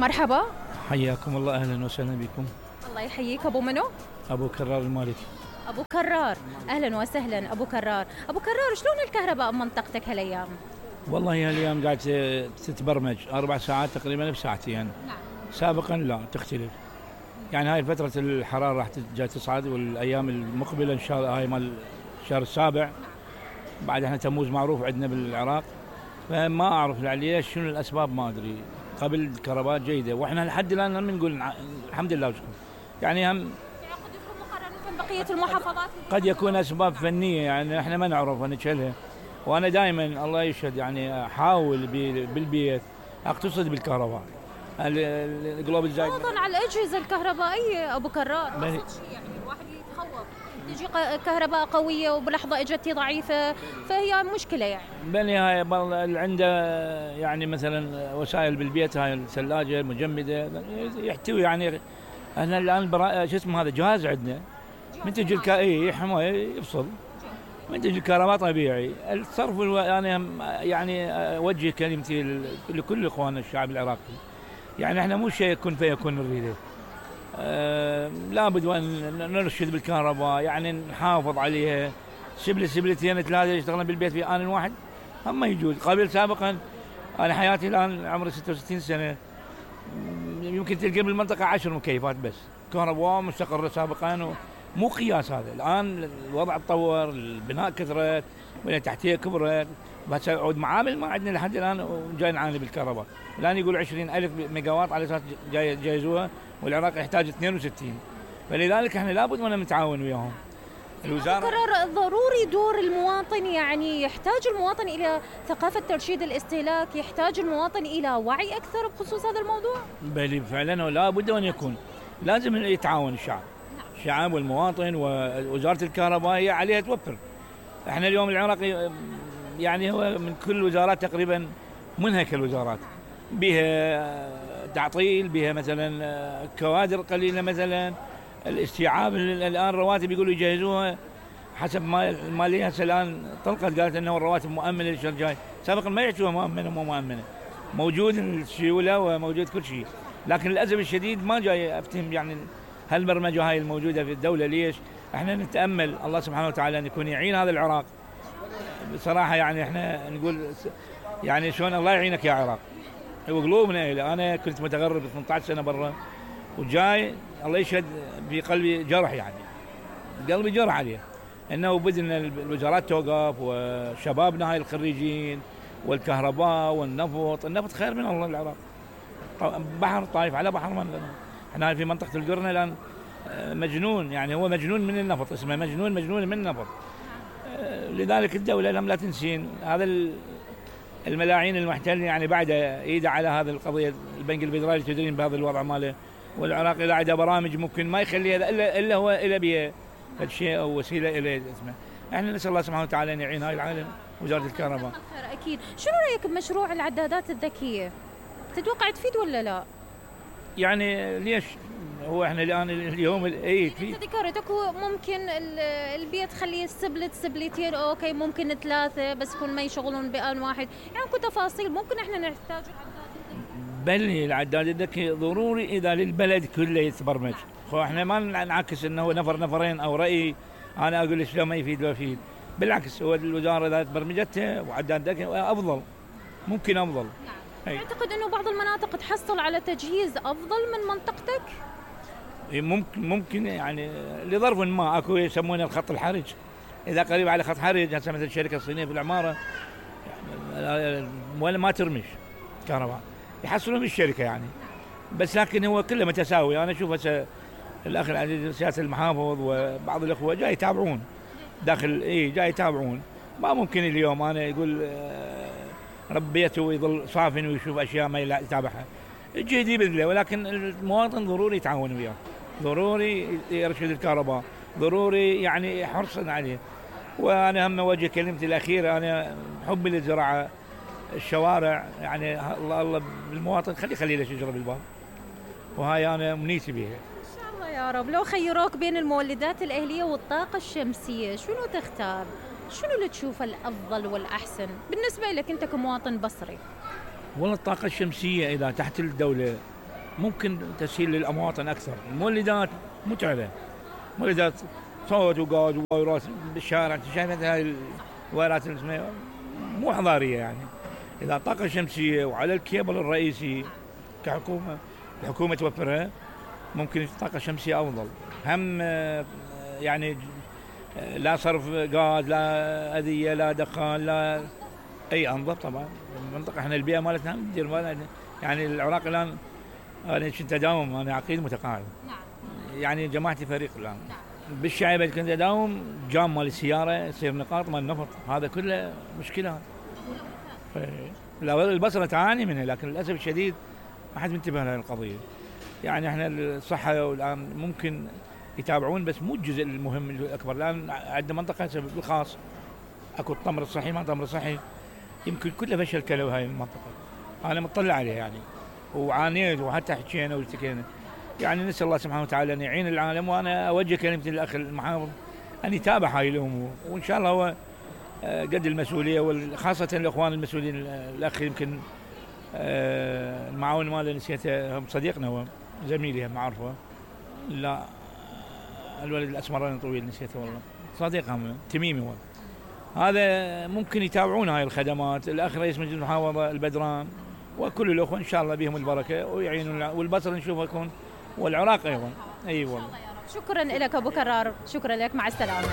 مرحبا. حياكم الله، أهلا وسهلا بكم. الله يحييك. أبو منو؟ أبو كرار المالكي. أبو كرار، أهلا وسهلا أبو كرار. أبو كرار، شلون الكهرباء بمنطقتك هالأيام؟ والله هالأيام قاعد تتبرمج 4 ساعات تقريبا بساعتين. نعم. سابقا لا تختلف، يعني هاي فترة الحرارة راح جاي تصعد، والأيام المقبلة إن شاء الله هاي مال الشهر السابع. بعد احنا تموز معروف عندنا بالعراق، فما أعرف ليش شنو الأسباب ما أدري. قبل الكهرباء جيدة، وإحنا لحد الآن هم نقول الحمد لله وشكرا. يعني هم قد يكون مقارنة بقية المحافظات قد يكون أسباب فنية، يعني إحنا ما نعرف نشيلها. وأنا دائما الله يشهد يعني أحاول بالبيت أقتصد بالكهرباء. القلوب الزايد أيضا على الأجهزة الكهربائية أبو كرار، يعني الواحد يتخوف تجي كهرباء قوية وبلحظة اجت ضعيفة، فهي مشكلة يعني. بني هاي اللي عنده يعني مثلا وسائل بالبيت، هاي الثلاجة المجمدة يحتوي يعني. احنا الآن شو اسمه هذا جهاز عندنا منتج حماية يفصل، منتج الكهرباء طبيعي. الصرف أنا يعني أوجه كلمتي لكل إخواننا الشعب العراقي، يعني احنا مو شيء يكون فيكون نريده. لابد وأن نرشد بالكهرباء، يعني نحافظ عليها. سبلتين 3 يشتغلون بالبيت في آن واحد هم ما يجوز. قبل سابقا أنا حياتي الآن عمري 66 سنة، يمكن تلقى بالمنطقة 10 مكيفات بس كهرباء مستقرة سابقا، مو قياس هذا. الآن الوضع تطور، البناء كثرت، البنية التحتية كبرت، بس عود معامل ما عندنا لحد الآن وجاي نعاني بالكهرباء. الآن يقول 20,000 ميجا واط على أساس جايزوها، والعراق يحتاج 62. فلذلك احنا لابد من نتعاون وياهم. الوزارة قرار ضروري دور المواطن، يعني يحتاج المواطن إلى ثقافة ترشيد الاستهلاك، يحتاج المواطن إلى وعي أكثر بخصوص هذا الموضوع. بل فعلا ولا بد أن يكون، لازم يتعاون الشعب والمواطن، ووزارة الكهرباء هي عليها توفر. احنا اليوم العراق يعني هو من كل الوزارات تقريبا منهك الوزارات، بها تعطيل، بها مثلا كوادر قليلة، مثلا الاستيعاب الآن رواتب يقولوا يجهزوها حسب ما المالية. هسه الآن طلقت قالت انه الرواتب مؤمنة للشهر الجاي، سابقا ما يحسوها مؤمنة مو مؤمنة، موجود السيولة وموجود كل شيء. لكن للأسف الشديد ما جاي أفتهم يعني هالبرمجة هاي الموجودة في الدولة ليش. احنا نتأمل الله سبحانه وتعالى أن يكون يعين هذا العراق بصراحة. يعني احنا نقول يعني شلون الله يعينك يا عراق، وقلوبنا إلى. أنا كنت متغرب 18 سنة برا، وجاي الله يشهد في قلبي جرح، يعني قلبي جرح عليه انه بدنا الوزارات توقف، وشبابنا هاي الخريجين، والكهرباء والنفط خير من الله العراق. بحر طايف على بحر من احنا في منطقة القرنة الآن مجنون، يعني هو مجنون من النفط، اسمه مجنون من النفط. لذلك الدولة لم لا تنسين هذا الملاعين المحتل، يعني بعد ايده على هذه القضية. البنك الفيدرالي تدرين بهذا الوضع ماله، والعراق إذا عنده برامج ممكن ما يخليها إلا هو إلى بيه شيء أو وسيلة إلى اسمه. احنا نسأل الله سبحانه وتعالى أن يعين هاي العالم وزارة الكهرباء. أكيد. شنو رأيك بمشروع العدادات الذكية؟ تتوقع تفيد ولا لا؟ يعني ليش هو احنا الآن اليوم تفيد. انت ذكرتك ممكن البيت خليه سبلتين، اوكي ممكن 3 بس يكون ما يشغلون بآن واحد، يعني كل تفاصيل ممكن احنا نحتاج بل العداد الذكي ضروري إذا للبلد كله يتبرمج. احنا ما نعكس انه نفرين او رأي انا اقول شلون ما يفيد ولا يفيد. بالعكس هو الوزارة اذا تبرمجته وعداد ذكي افضل، ممكن افضل. نعم. اعتقد انه بعض المناطق تحصل على تجهيز افضل من منطقتك. ممكن يعني لظرف ما اكو يسمونه الخط الحرج. اذا قريب على خط حرج، هسه مثل الشركة الصينية في العمارة يعني ولا ما ترمش كهرباء، يحصلون بالشركة يعني. بس لكن هو كله متساوي. أنا أشوف هسه الأخ العزيز سياسة المحافظ وبعض الأخوة جاي يتابعون داخل، جاي يتابعون. ما ممكن اليوم أنا يقول ربيته ويظل صافن ويشوف أشياء ما يتابعها. جهدي بذله، ولكن المواطن ضروري يتعاون وياه، ضروري يرشد الكهرباء، ضروري يعني حرصا عليه. وأنا هم وجه كلمتي الأخيرة، أنا حبي للزراعة، الشوارع، يعني الله المواطن خلي له شجرة بالباب، وهاي أنا أمنيتي بها. إن شاء الله يا رب. لو خيروك بين المولدات الأهلية والطاقة الشمسية شنو تختار؟ شنو اللي تشوفه الأفضل والأحسن بالنسبة لك أنت كمواطن بصري؟ والله الطاقة الشمسية إذا تحت الدولة ممكن تسهيل للمواطن اكثر. المولدات متعبه، مولدات صوت وغاز وفيروس بالشارع، انت شايف هاي الفيروسات مو حضاريه يعني. اذا الطاقه الشمسيه وعلى الكيبل الرئيسي كحكومه الحكومه توفرها، ممكن الطاقه الشمسيه افضل. هم يعني لا صرف غاز، لا اذيه، لا دخان، لا اي انظف. طبعا المنطقه احنا البيئه مالتنا ندير يعني العراق الان انا كنت اداوم، انا عقيد متقاعد. يعني جماعتي فريق الان. بالشعيبه كنت اداوم جام مال السياره يصير نقاط مال نفط، هذا كله مشكله. البصره تعاني منها، لكن للاسف الشديد ما حد منتبه لهذه القضيه. يعني احنا الصحه والان ممكن يتابعون بس مو الجزء المهم الاكبر. الان عندنا منطقه بالخاص اكو التمر الصحي، ما تمر صحي، يمكن كله فشل كلوي هاي المنطقه. انا مطلع عليها يعني وعانيت وحتى حكينا والتقينا. يعني نسال الله سبحانه وتعالى ان يعين العالم، وانا اوجه كلمتي للاخ المحافظ ان يتابع هاي الامور، وان شاء الله هو قد المسؤوليه، وخاصه الاخوان المسؤولين. الاخ يمكن المعاون ماله نسيته، صديقنا هو زميلي معرفه، لا الولد الاسمراني الطويل نسيته والله، صديقهم تميمي هو. هذا ممكن يتابعون هاي الخدمات. الاخ رئيس مجلس المحافظه البدران وكل الاخوه ان شاء الله بهم البركه ويعينون، والبصر نشوفه يكون، والعراق ايضا. اي والله. شكرا لك ابو كرار، شكرا لك، مع السلامه.